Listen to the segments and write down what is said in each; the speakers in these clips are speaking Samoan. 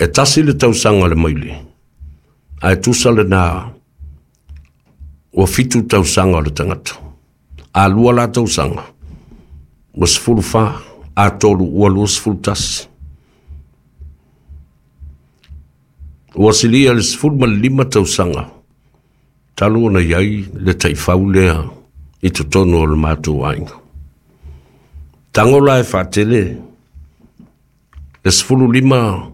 E tasi le tausaga o le maile, ae tusa lena ua fitu tausaga o le tagata. A lua la tausaga, ua 14, a tolu ua 21. Ua silia le 15 tausaga talu ona i ai le taifau lea i totonu o le matou aiga. Tago la e faatele le 15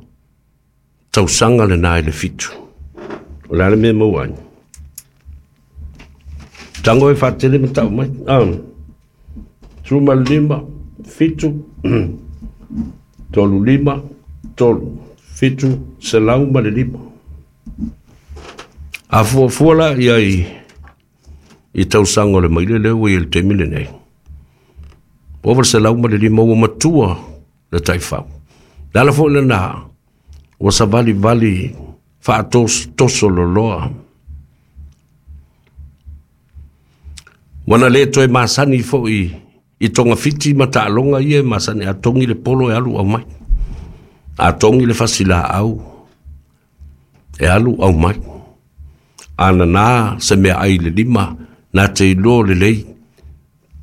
tausaga lena i le fitu. O le a le mea e maua ai? Tago e faatele ma tau mai. Ah, 15, 7, 3, 5, 3, 7, 105. A fuafua la i ai i tausaga o le maile lea ua i ai i le taimi lenei, ua ova le 105 ua matua le taifau. Le ala foi lena ua savalivali faatosotoso loloa. Ua na le toe masani foi i togafiti ma taaloga ia e masani a togi le polo e alu aumai. A togi le fasilaau e alu aumai. A nana se meaai i le lima, na te iloa lelei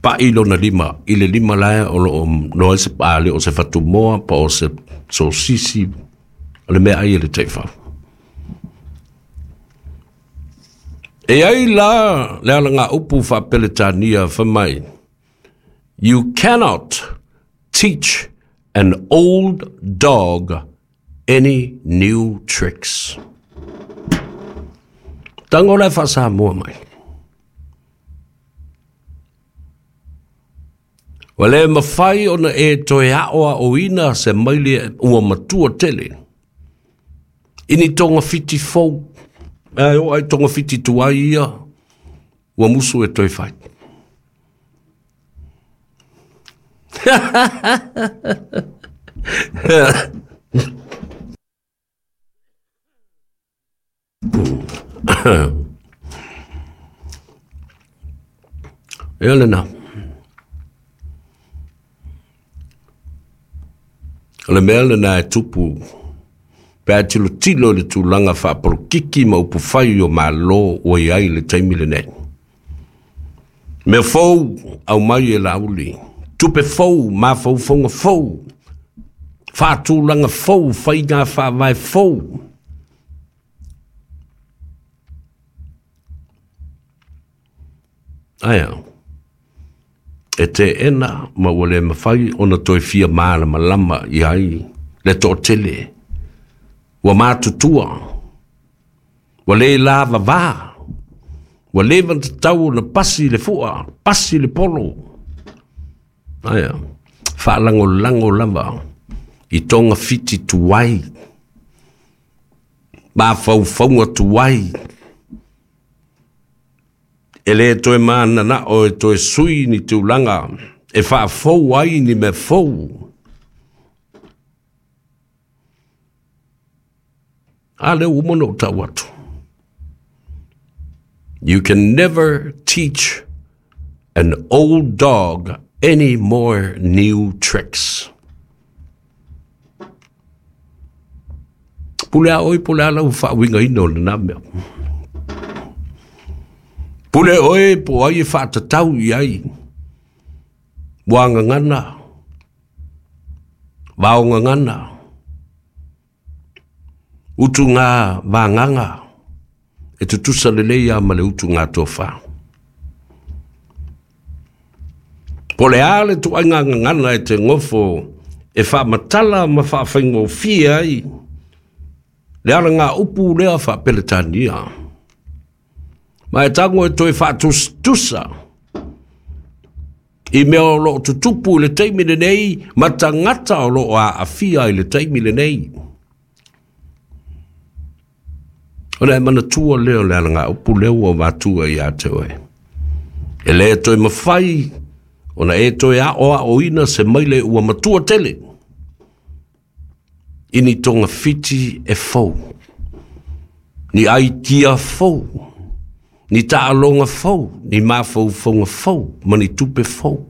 pa'i lona lima i le lima la o lo o noa ai se a le o se fatumoa po o se sosisi o le meaai a le taifau. E ai la le alagaupu faa-Peretania fai mai, You cannot teach an old dog any new tricks. Tango la e faa-Samoa mai. Ua le mafai ona e toe aʻoaʻoina se maile ua matua tele i ni togafiti fou. Ae oo ai togafiti tuai ia ua musu e toe fai. Ia lena. O le mea lena e tupu pe a tilotilo i le tulaga faapolokiki ma upufai o Malo ua i ai i le taimi lenei. Mea fou aumai e Laauli, tupe fou, mafaufauga fou, faatulaga fou, faiga faavae fou. Ae a? E teena ma ua le mafai ona toe fia malamalama i ai le toatele. Ua matutua, ua le lavava, ua leva ona tatau ona pasi le fua, pasi le polo. Ae a? Faalagolago lava i togafiti tuai, mafaufauga tuai, e le toe mananao e toe sui ni tulaga e faafou ai ni mea fou. A lea ua uma ona ou tau atu. You can never teach an old dog any more new tricks. Pule a ʻoe po o le a lau faauigaina o lena mea. Pule ʻoe po o ai e faatatau i ai ua gagana, vao gagana, utuga vagaga e tutusa lelei lava ma le utuga tofa. Po o le a le ituaiga gagana e te gofo e faamatala ma faafaigofie ai le alagaupu lea faa-Peretania. Ma e tago e toe faatusatusa i mea o lo o tutupu i le taimi lenei ma tagata o lo o aafia i le taimi lenei. Ona e manatua lea o le alagaupu lea ua avatua ia te oe. E le toe mafai ona e toe aʻoaʻoina se maile ua matua tele i ni togafiti e fou, ni aitia fou, ni taaloga fou, ni mafaufauga fou ma ni tupe fou.